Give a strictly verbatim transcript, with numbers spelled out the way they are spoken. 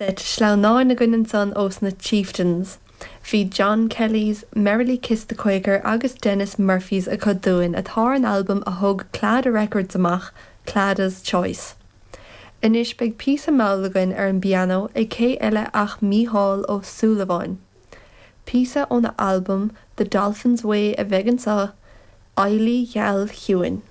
Seit sleamhnáin againn ansan ós na Chieftains. Bhí John Kelly's Merrily Kiss the Quaker agus Dennis Murphy's acu dúinn atá ar an albam a thug Claddagh Records amach Claddaugh's Choice. Anois beidh píosa mall againn ar an bpianó ag cé eile ach Mícheál Ó Súilleabháin. Píosa óna albam The Dolphin's Way a bheidh anseo, Eilí Gheal Chiúin.